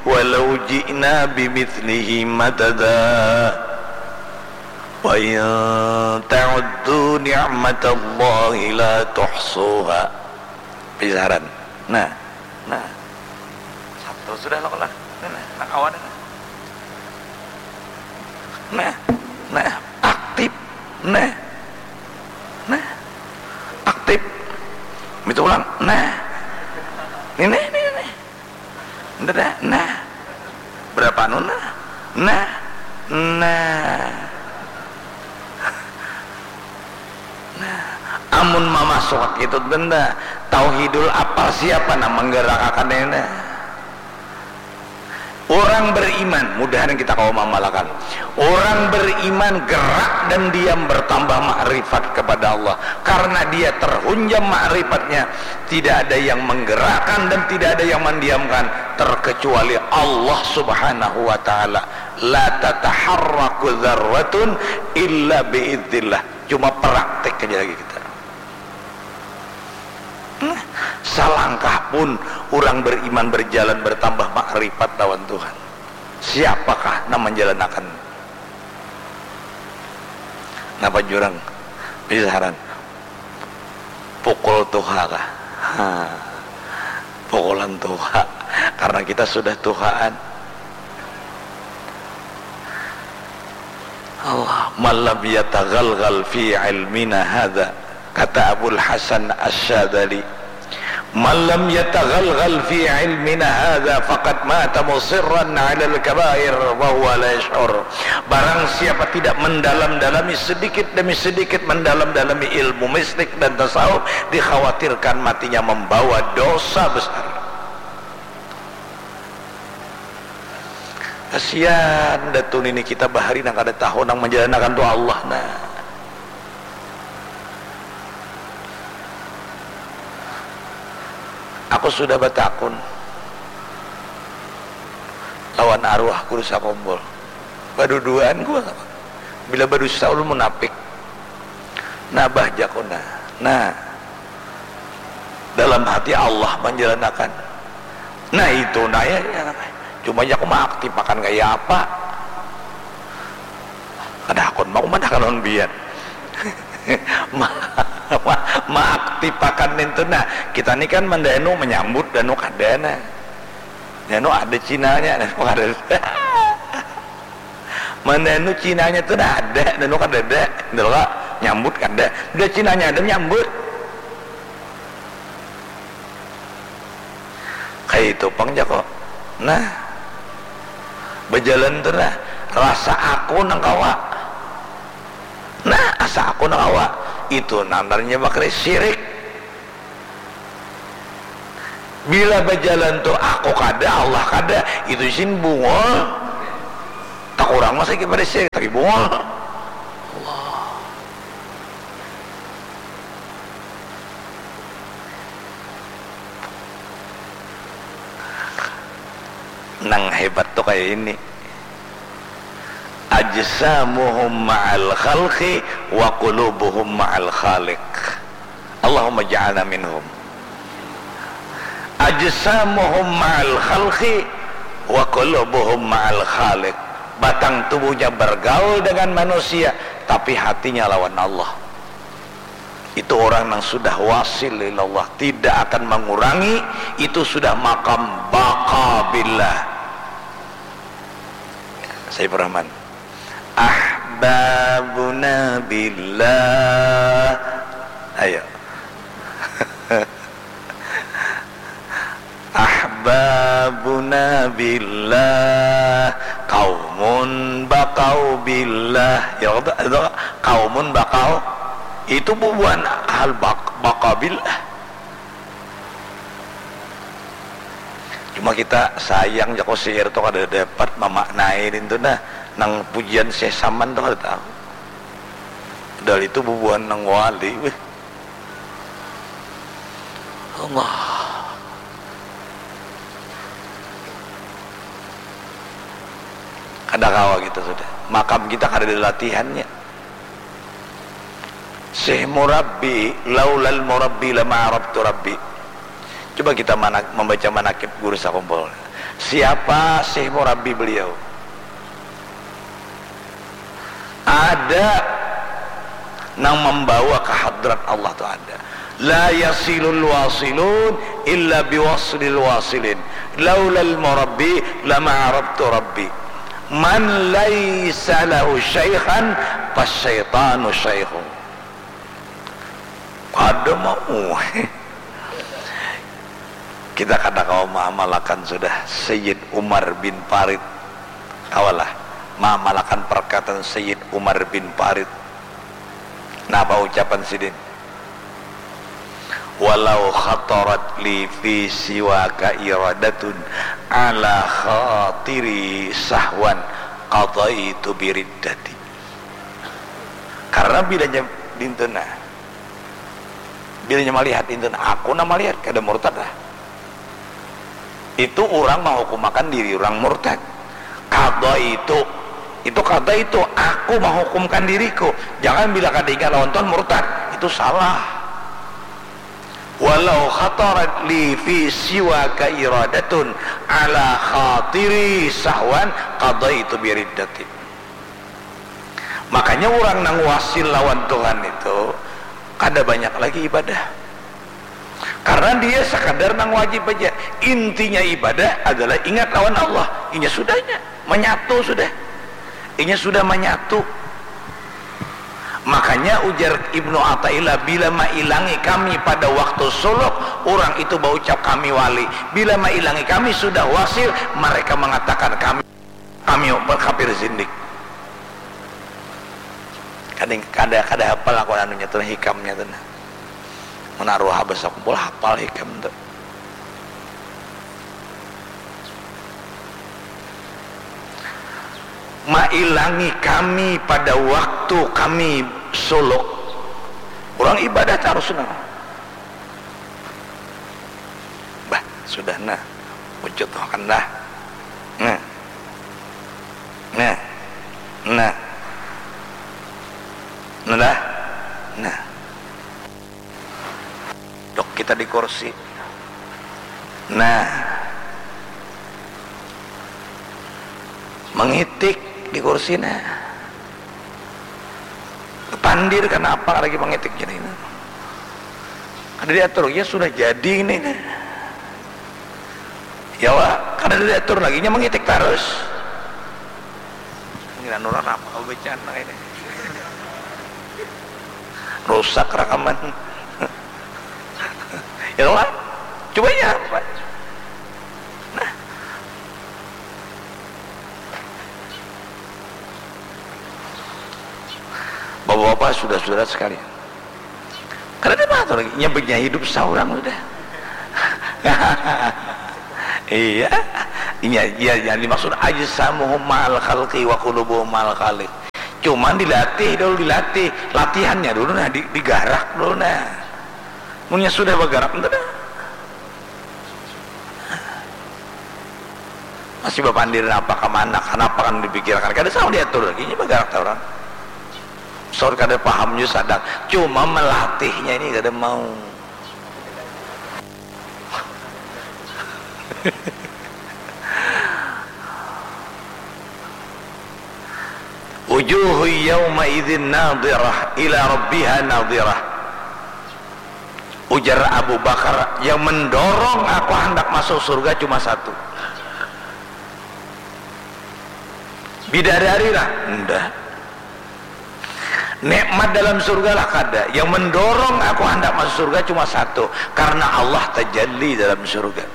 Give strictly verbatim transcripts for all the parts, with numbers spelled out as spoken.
walau ji'na bimithlihi madada. Wa in ta'uddu ni'matallahi la tuhsuha. Pisaran. Nah, nah. Satu sudah lo lah. Nah, nah, nah, kawan. Nah, nah, aktif. Nah. Nah. Aktif. Itu ulang. Nah. Ini, ini, ini. Nda, nah. Berapa anu nah? Nah. Nah. Nah. Amun mamasuk itu nda. Tauhidul apal siapa nang menggerakkan ini? Orang beriman, mudahan kita kawa mamalakan. Orang beriman gerak dan diam bertambah makrifat kepada Allah. Karena dia terhunjam makrifatnya, tidak ada yang menggerakkan dan tidak ada yang mendiamkan terkecuali Allah Subhanahu wa taala. La tataharraku dzarratun illa biidzillah. Cuma praktek aja lagi kita. Nah, salangkah pun orang beriman berjalan bertambah makrifat lawan Tuhan. Siapakah nang menjalanakan? Napa jurang? Pisaran. Pukul tuha kah? Ha. Pukulan tuha. Karena kita sudah tuhaan. Allah, man lam yatagalgal fi ilmina hadza, kata Abul Hasan Asy-Syadzali, man lam yatagalgal fi ilmina hadza faqad mata musirran 'alal kabair wa huwa la yash'ur. Barang siapa tidak mendalam-dalami sedikit demi sedikit, mendalam-dalami ilmu mistik dan tasawuf, dikhawatirkan matinya membawa dosa besar. Kasian datu nini kita bahari nang kada tahu nang manjalanakan tu Allah nah. Aku sudah batakun lawan arwah guru sakumpul. Baduduaan gua. Bila badusa ulun munapik. Nah bah jaku nah. Nah. Dalam hati Allah manjalanakan. Nah itu nah ya, ya. Cuma jaku maaktipakan kaya apa? Kada hakun mau mandakan lawan bian. Ma- ma- maaktipakan nintu nah. Kita ni kan mandanu manyambut danu kada nah. Danu ada cinanya, danu kada. Mandanu cinanya tu dah ada, danu kada ada. Dulu nyambut kada. Dah cinanya ada nyambut. Kaya itu pang jako. Nah. Bajalan tu nah. Rasa aku nang kawa. Nah, asa aku nang kawa. Itu namanya bakri syirik. Bila bajalan tu aku kada, Allah kada, itu isin bungul. Takurang masa kita pada syirik, tapi bungul. Allah. Nang hebat tu kaya ini. Ajsamuhum ma'al khalqi wa qulubuhum ma'al khaliq. Allahumma ja'alna minhum. Ajsamuhum ma'al khalqi wa qulubuhum ma'al khaliq. Batang tubuhnya bergaul dengan manusia, tapi hatinya lawan Allah. Itu orang yang sudah wasil ilallah, tidak akan mengurangi, itu sudah makam baqa billah. Saifur Rahman. Ahbabuna billah. Ayo. Ahbabuna billah, qaumun baqau billah. Ya, itu, itu qaumun baqau. Itu bubuhan ahal baq-, baqa billah. Cuma kita sayang jako syair tu kada dapat mamaknai nintu nah, nang pujian Syekh Saman tu kada tahu. Padahal itu bubuhan nang wali, weh. Allah. Kada kawa kita sudah. Makam kita kada ada latihannya. Syekh Murabbi, laulal Murabbi lama arabtu Rabbi. Coba kita mana, membaca manakib guru sakumpul. Siapa sih murabbi beliau? Ada nang membawa ke hadrat Allah tu ada. La yasilul wasilun illa biwaslil wasilin. Laulal murabbi lama arabtu rabbi. Man laisa lahu syaikhan fasyaitanu syaikhu. Kada mau. Kita kada kawa maamalakan sudah Sayyid Umar bin Farid. Kawalah maamalakan perkataan Sayyid Umar bin Farid. Napa ucapan sidin? Walau khatarat li fi siwaka iradatun ala khatiri sahwan qadaitu biriddati. Karena bilanya dinten nah, bilanya malihat dinten, aku nah malihat kada murtad lah. Itu orang menghukumakan diri orang murtad. Kada itu, itu kada itu, aku menghukumkan diriku. Jangan bila kada ingat lawan Tuhan murtad, itu salah. Walau khatarat li fi siwaka iradatun ala khatiri sahwan qadaitu biriddati. Makanya orang nang wasil lawan Tuhan itu kada banyak lagi ibadah. Karena dia sekadar nang wajib aja. Intinya ibadah adalah ingat lawan Allah. Inya sudahnya, menyatu sudah. Inya sudah menyatu. Makanya ujar Ibnu Athaillah, bila mailangi kami pada waktu suluk, orang itu baucap kami wali. Bila mailangi kami sudah wasil, mereka mengatakan kami kami berkafir zindik. Kada kada kada hafal aku anunya tu, hikamnya tu nah. Mun arwah abah sakumpul hafal hikam tu. Mailangi kami pada waktu kami suluk. Orang ibadah tarus nah. Bah, sudah nah. Ucut makan dah. Nah. Nah. Nah. Nah dah. Nah. Dok kita di kursi. Nah. Mengitik di kursi nah. Pandir karena apa lagi mengitik jadi ini. Kada diatur, ya sudah jadi ini. Ya wah, kada diatur lagi, nya mengitik terus. Ngira nurang apa kau bacaan ini. Rusak rekaman. Ya wah, coba ya apa. Nah. Bapak-bapak, sudah-sudah sekalian. Kada ada apa lagi. Nya banyak hidup seorang sudah. Iya. Iya, iya, yang dimaksud ajsamuhum ma'al khalqi wa qulubuhum ma'al khaliq. Cuman dilatih dulu, dilatih. Latihannya dulu nah, di, digarak dulu nah. Munnya sudah bergerak, entah dah. Masih bapandir napa ka mana, kanapa kan dipikirakan, kada sawa diatur lagi, nya bagarak tah urang. Saur kada paham jua sadang, cuma melatihnya ini kada mau. Wujuhu yauma'idzin nadhirah ila rabbiha nadhirah. Ujar Abu Bakar, yang mendorong aku handak masuk surga cuma satu. Bidadari lah? Nda. Nikmat dalam surga lah? Kada. Yang mendorong aku handak masuk surga cuma satu, karena Allah tajalli dalam surga.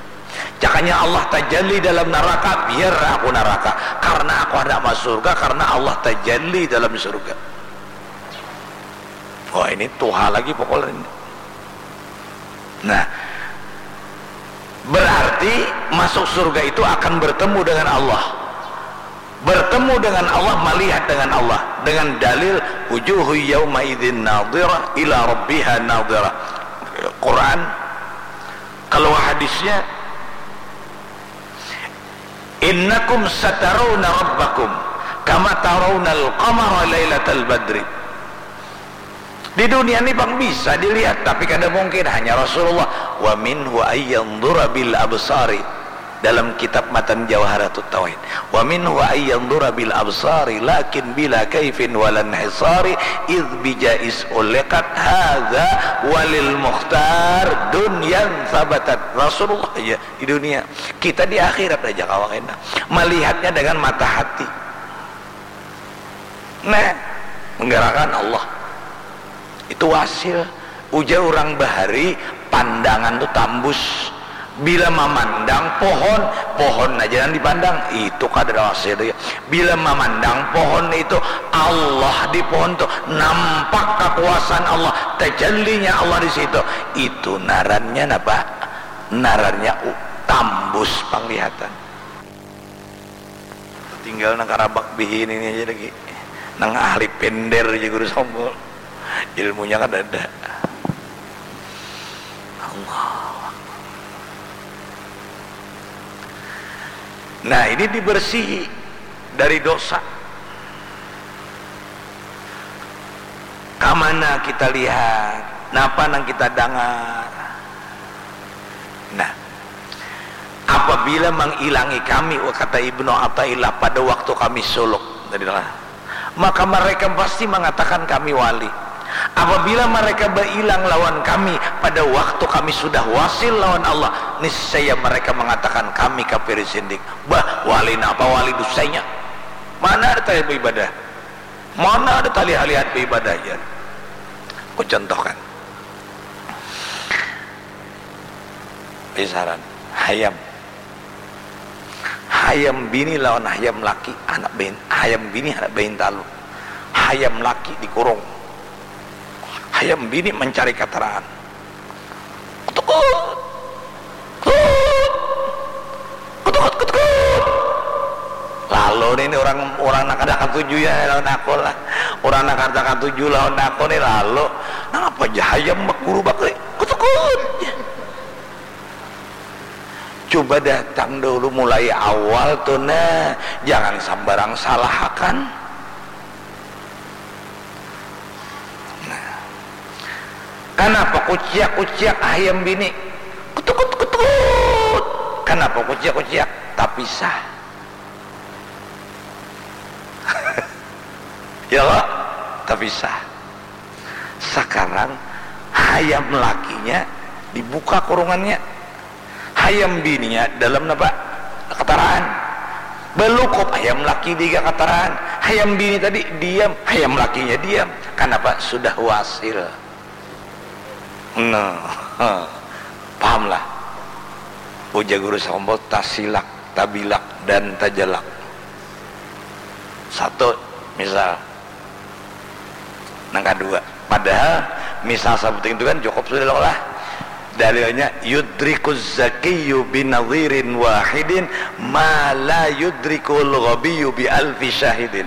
Cakanya Allah tajalli dalam naraka, biar aku naraka, karena aku handak masuk surga, karena Allah tajalli dalam surga. Wah, ini tuha lagi pokoknya. Nah, berarti masuk surga itu akan bertemu dengan Allah. Bertemu dengan Allah, melihat dengan Allah, dengan dalil wujuhu yauma'idzin nadhirah ila rabbiha nadhirah. Quran, kalau hadisnya, "Innakum satarawna rabbakum kama tarawnal qamara lailatal badri." Di dunia ni pang bisa dilihat, tapi kada mungkin, hanya Rasulullah. Wa minhu ayyanzura bil absari. Dalam kitab matan Jawharatut Tauhid, wa minhu ayyanzura bil absari lakin bila kaifin walan hisari, id bijais ulikat hadza walil mukhtar dunyan sabatat. Rasulullah aja di dunia, kita di akhirat aja kawa kena melihatnya dengan mata hati. Nah, menggerakan Allah itu hasil. Ujar orang bahari, pandangan tu tambus. Bila mamandang pohon, pohon aja yang dipandang, itu kadar hasil ya. Bila mamandang pohon itu, Allah di pohon tu, nampak kekuasaan Allah, tajallinya Allah di situ. Itu narannya napa? Narannya u- tambus panglihatan. Tinggal nang karabak bihin ini aja lagi. Nang ahli pender aja guru sombol. Ilmunya kan ada. Allah. Nah, ini dibersihi dari dosa. Kamana kita lihat? Napa nang kita dangar? Nah, apabila mangilangi kami, kata Ibnu Athaillah, pada waktu kami suluk, maka mereka pasti mengatakan kami wali. Apabila mereka bailang lawan kami pada waktu kami sudah wasil lawan Allah, niscaya mereka mengatakan kami kafir zindik. Bah, wali napa wali dusanya? Mana ada tali beribadah? Mana ada tali halihat beribadah ya? Aku contohkan. Pisaran hayam. Hayam bini lawan hayam laki, anak bain, hayam bini anak bain talu. Hayam laki dikurung. Hayam bini mencari kataraan. Kutukut. Kutukut. Kutukut, kutukut. Lalu nih, nih orang, orang nak kada katuju ya lawan aku lah. Orang nak kada katuju lawan aku nih lalu. Napa aja hayam bakuru bakri. Kutukut. Coba datang dulu mulai awal tuh nah, jangan sambarang salahakan. Nah. Kanapa kuciak-kuciak hayam bini? Kutukut kutukut. Kanapa kuciak-kuciak? Tapisah. Ya kok? Tapisah. Sakarang hayam lakinya dibuka kurungannya. Hayam bininya dalam napa? Kataraan. Balukup hayam laki di kataraan. Hayam bini tadi diam, hayam lakinya diam. Kanapa? Sudah wasil. Nah, pahamlah. Ujar guru sakumpul tasilak, tabilak, dan tajalak. Satu, misal. Nang kadua, padahal misal sabuting itu kan cukup sudah lah. Dalilnya, yudrikuz zakiyyu binadhirin wahidin ma la yudrikul ghabiyyu bi alfi syahidin.